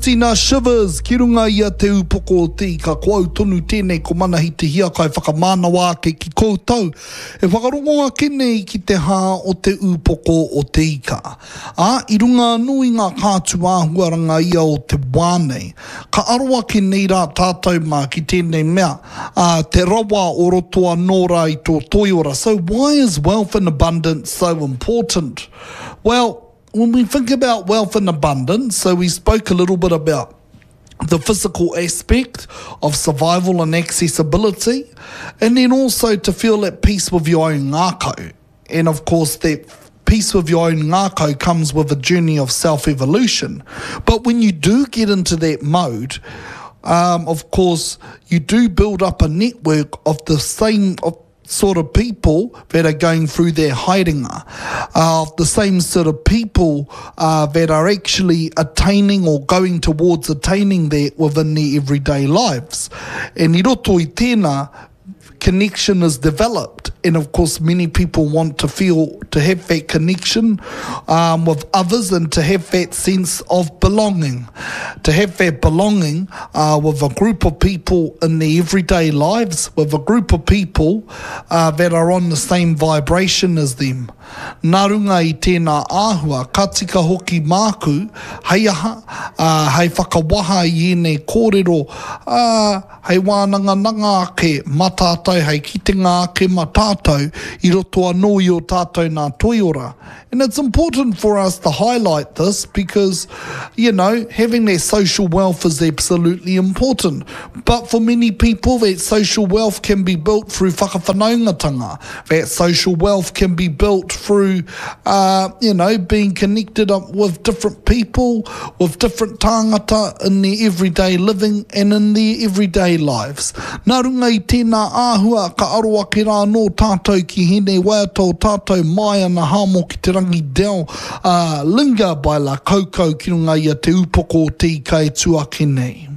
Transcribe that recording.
Tina Shivers ki runga i a Te Upoko o Te Ika. Ko au tonu tēnei ko Manahi Te Hiakai whakamānawa ake ki koutou e whakarongo ake nei ki te hā o Te Upoko o Te Ika. Ā, i runga anō i ngā kātū āhuaranga ia o te wā nei, ka aro ake nei rā tātou mā ki tēnei mea, ā, te rawa o roto anō rā i tō toiora. So why is wealth and abundance so important? Well, when we think about wealth and abundance, so we spoke a little bit about the physical aspect of survival and accessibility, and then also to feel at peace with your own ngākau. And of course, that peace with your own ngākau comes with a journey of self-evolution. But when you do get into that mode, um, of course, you do build up a network of the same of sort of people that are going through their haerenga, uh, the same sort of people uh, that are actually attaining or going towards attaining that within their everyday lives. And i roto i tēnā, connection is developed. And of course, many people want to feel, to have that connection um, with others and to have that sense of belonging. To have that belonging uh, with a group of people in their everyday lives, with a group of people uh, that are on the same vibration as them. Nā runga i tēnā āhua, ka tika hoki māku, hei aha, ā, hei whakawaha i ēnei kōrero, ā, hei wānangananga ake mā tātou, hei kitenga ake mā tātou i roto anō i ō tātou nā toiora. And it's important for us to highlight this because, you know, having that social wealth is absolutely important. But for many people, that social wealth can be built through whakawhanaungatanga. That social wealth can be built through, uh, you know, being connected up with different people, with different tāngata in their everyday living and in their everyday lives. Nā runga i tēnā āhua, ka aro ake rā anō tātou ki hēnei waiata o tātou Maia na Hamo ki te rangi Del, ā, Linger by La Kaukau ki runga i a Te Upoko o Te Ika e tū ake nei.